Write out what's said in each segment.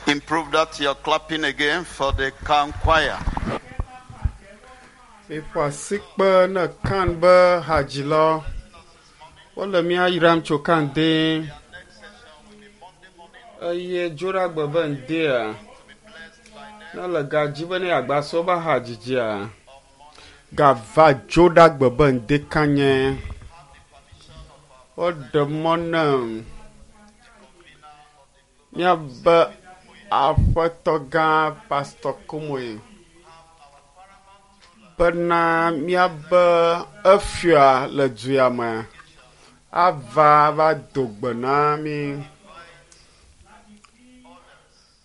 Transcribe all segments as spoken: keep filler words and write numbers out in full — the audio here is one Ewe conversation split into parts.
Improve that you're clapping again for the CAN choir. Miƒo asikpe ne kan be hadzilawo. Wole mía yram tso kan dee. Eye dzoɖagbe be ŋdea, ne le ga dzi be ne yeagba sɔ be hadzidzia, gava dzoɖagbe be ŋde kanye. Woɖe mɔ nem míabe aƒetɔ gã Pastor Komoe bena míabe efia le du ya me ava va do gbe na mí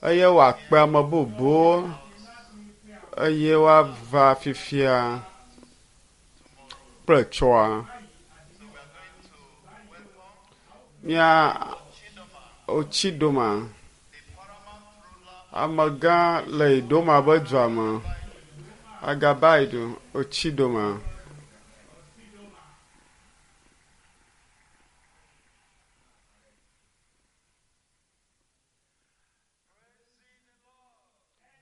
eye wòakpe ame bubuwo eye woava fifia kple tsɔa. Mía Otsidoma, amegã le Idoma be dua me, Agabaidu Otsidoma.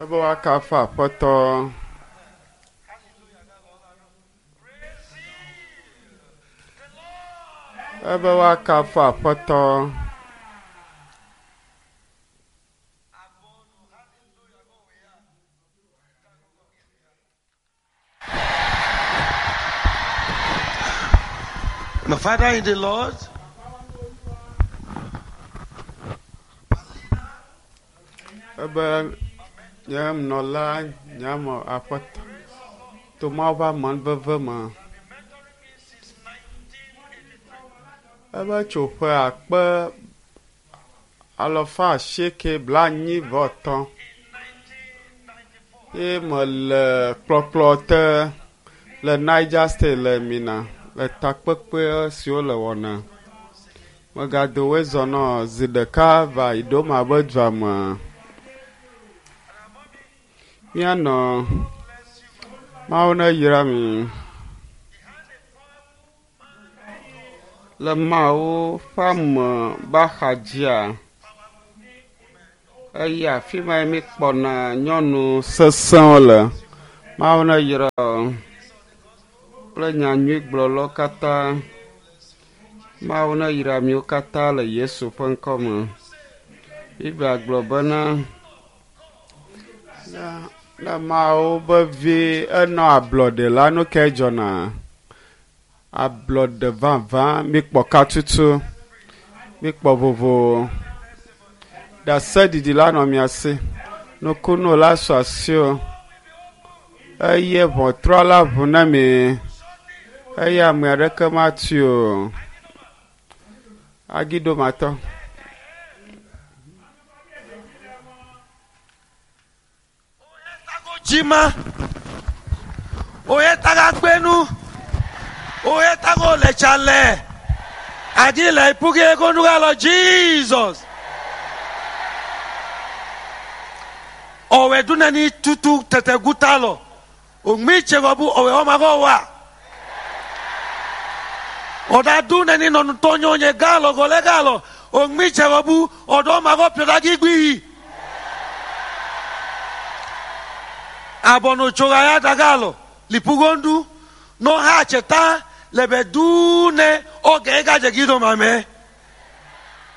Ebe woakafu Aƒetɔ. Ebe woakafu Aƒetɔ. My father in the Lord, Ebe nye nɔla nye ame Aƒetɔ to Mawu ƒe amenuveve me. Ebe tso ƒe akpe alafa asieke blaenyi vɔ etɔ̃ ye mele kplɔkplɔ te le Niger State le Mina le takpekpe siwo le wɔna. Megado woe zɔ nɔ zi ɖeka va Idoma be dua me. Míanɔ Mawu ne yra mi. Le Mawu ƒe ame be axadzia, eye afi ma ye míkpɔna nyɔnu sesẽwo le. Mawu ne yra wo kple nyanyuigblɔlawo katã. Mawu ne yra miwo katã le Yesu ƒe ŋkɔ me. Biblia gblɔ bena ne, ne Mawu be vi enɔ ablɔɖe la, nu kae dzɔna? Ablɔɖe vavã, mikpɔ katutu, mikpɔ vovo. Ɖaseɖiɖi la nɔ mia si. Nukunu la su asiwò eye ʋɔtrɔ la ʋu na mi eye ame aɖeke matui o. Agidomatɔ. Jima, Oyetaga Gbenu, Oyetago Lechale, Adile Ipuge Egonugalo Jesus. Owe dunani tutu tete gutalo, Ogmi chegobu owe omagowa. Oda dunani nonu tonyo nye galo gole galo, Ogmi chegobu odo mago piodagi gbi. Abono chogaya dagalo lipugondu no ha cheta lebe dune oge gaje gido mame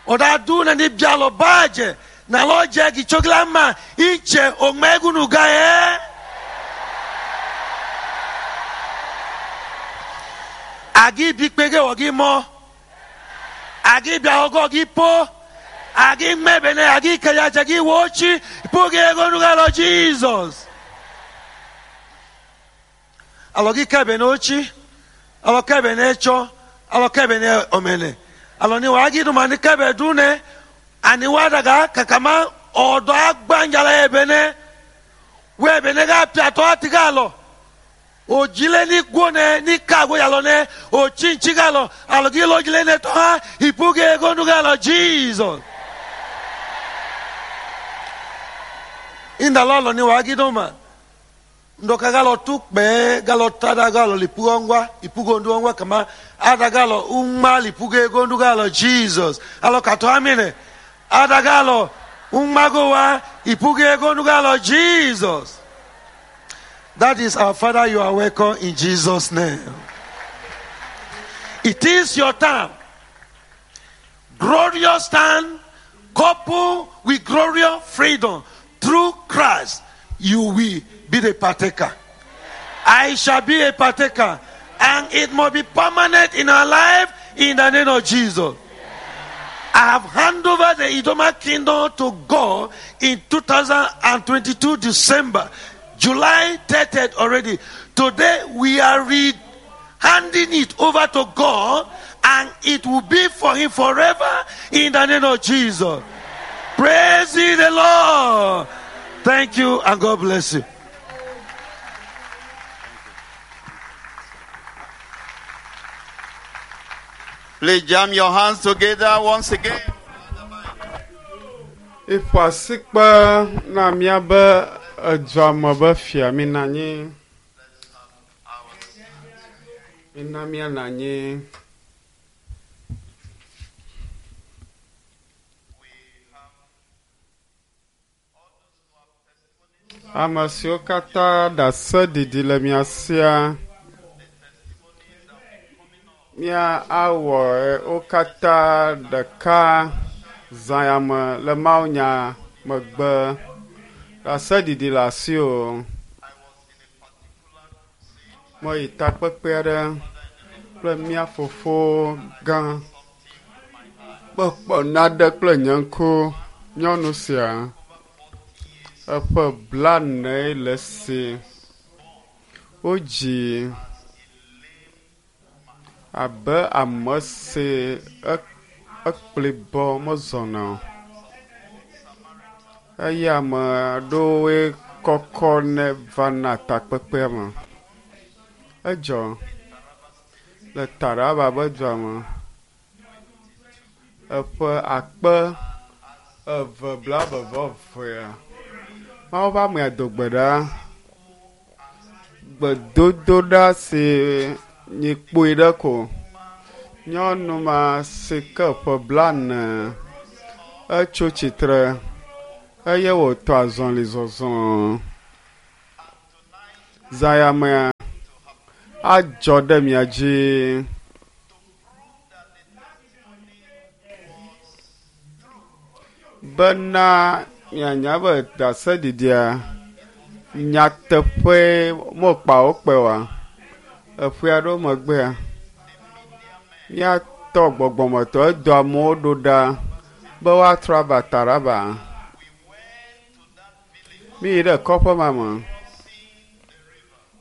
oda dune ni bialo baje na loje gi choglama iche omegunu gae agi bi pege ogi mo agi bia ogo gi po agi mebene agi kaya jagi wochi puge egonu galo Jesus. Alɔ kebe n'ochi, alɔ kebe n'etsɔ, alɔ kebe n'omene. Alɔ ni wàá giduma ni kebe dune, ani wàá daga kakama ɔdɔ agbandzala ebene, wo ebene ka piatɔ ati ka alɔ. Odzile ni gbone ni kago yalɔ ne, otsintsi ka alɔ, alɔ gi lɔdzile ne tɔ hã, ipuge egonu ka alɔ Jesus. Indalɔ alɔ ni wàá giduma. Ndoka galo tukpe galo tada galo lipugo ngwa ipugo ndu ngwa kama ada galo umma lipugo ego ndu galo Jesus alo kato amine ada galo Ummagowa ipuge Lord Jesus. That is our Father, you are welcome in Jesus' name. It is your time. Glorious time, coupled with glorious freedom through Christ, you will be the partaker. I shall be a partaker, and it must be permanent in our life in the name of Jesus. I have handed over the Idoma kingdom to God in two thousand twenty-two December, July thirtieth already. Today we are re- handing it over to God, and it will be for Him forever in the name of Jesus. Praise ye the Lord. Thank you, and God bless you. Please jam your hands together once again. Iƒo asikpe na míabe edzuame be fia mina anyi. Mina míanɔ anyi. Ame siwo katã ɖase ɖiɖi le mia sia, mía awɔ wo katã ɖeka zã ya me le mawunya megbe. Ɖase ɖiɖi le asi o. Meyi takpekpe aɖe kple mía fofo gã. Mekpɔ nane kple nye ŋku. Nyɔnu sia eƒe blane le si. Wodzi abe ame si ekpli bɔ mezɔna o. Eye ame aɖewoe kɔkɔ ne vana takpekpea me. Edzɔ le Taraba be dua me. Eƒe akpe eve blaeve vɔ evea. Mawu ƒe amea do gbe ɖa. Gbedodoɖa si nyi kpui ɖe ko. Nyɔnu ma si ke ƒe blane etso tsitre eye wòtɔ azɔli zɔzɔ. Zãyamea adzɔ ɖe mia dzi. Bena mianya be ɖaseɖiɖia nyateƒe mekpa wo kpe oa. Eƒe aɖewo megbea, míatɔ gbɔgbɔmetɔ edo amewo ɖo ɖa be woatrɔ ava Taraba. Míyi ɖe kɔƒe ma me.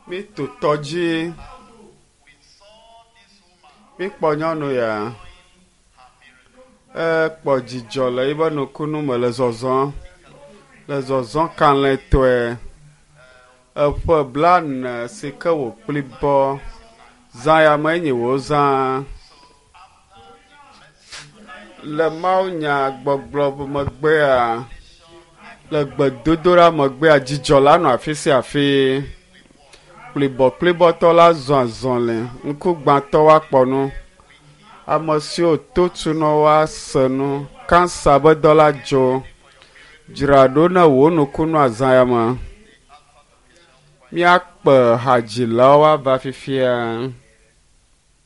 Míto tɔ dzi. Míkpɔ nyɔnu ya. Ekpɔ dzidzɔ le eƒe nukunu me le zɔzɔm. Le zɔzɔm kalẽtɔe. Eƒe blane si ke wòkpli bɔ. Zã ya me enyi wòzã. Le mawunyagbɔgblɔ megbea, le gbedodoɖa megbea, dzidzɔ la nɔ afi sia afi. Kplibɔkplibɔtɔ la zɔ azɔli, ŋkugbãtɔ woakpɔ nu. Ame siwo to tu nɔ woase nu. Kansa be dɔ la dzo. Dzra ɖo ne wò nukunu azã ya me. Míakpe hadzilawo ava fifia.